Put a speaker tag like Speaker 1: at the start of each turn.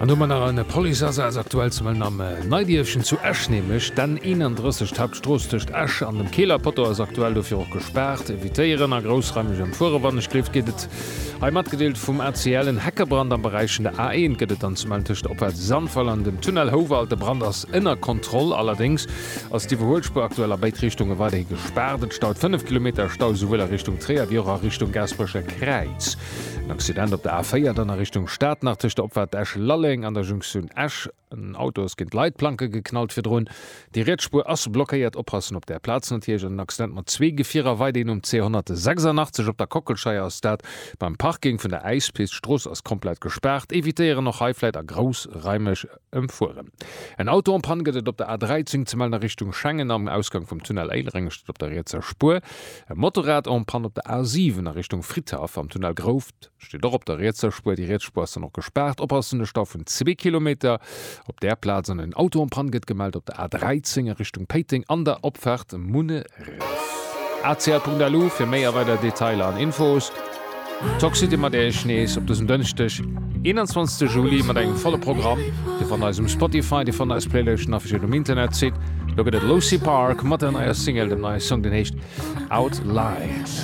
Speaker 1: An do hu mer nach en Policeasaz aktuell ze mellen am Neidierfchen zu Esch, nämlech d'N 31, d'Hauptstrooss tëscht Esch an dem Keeler Poteau ass aktuell dofir och gespaart. Evitéieren a groussraimeg ëmfuere wann ech gleeft geet et hei matgedeelt vum ACL. En Heckebrand am Beräich vun der A1 gëtt et dann ze mellen tëscht der Opfaart Sandweiler an dem Tunnel Houwald. De Brand ass ënner Kontroll, allerdéngs ass d'Iwwerhuelspuer aktuell a béid Richtunge weiderhi gespaart. Et staut 5 Kilometer Stau souwuel a Richtung Tréier wéi och a Richtung Gaasperecher Kräiz. En Accident op der A4 dann a Richtung Stad nach tëscht der Opfaart Esch-Lalleng an der Junktioun Esch. En Auto ass géint d'Leitplanke geknallt virdrun. Déi riets Spuer ass blockéiert. Oppassen op där Plaz natierlech. An en Accident mat zwee Gefierer weiderhin um C186 op der Kockelscheier ass dat beim Parking vun der Äispist. D'Strooss ass komplett gespaart. Evitéieren och hei vläit a groussraimeg ëmfueren. En Auto en panne gëtt et op der A13 ze mellen a Richtung Schengen am Ausgang vum Tunnel Éilereng, steet op der rietser Spuer. E Motorrad en panne op der A7 a Richtung Fridhaff am Tunnel Grouft, steet och op der rietser Spuer. Déi riets Spuer ass dann och gespaart. Oppassen, e Stau vun zwee Kilometer op där Plaz an en Auto en panne gëtt gemellt op der A13 a Richtung Péiteng an der Opfaart Munneref. Acl.lu fir méi a weider Detailer an Infos. Toxcity mat Iech nees op dësem Dënschdeg 21 Juli mat engem volle Programm. Dir fannt eis um Spotify, dir fannt eis Playlëschten affichiert um Internetsite. Lo gëtt et Lucy Park mat der neier Single, dem neie Song deen heescht Outliers.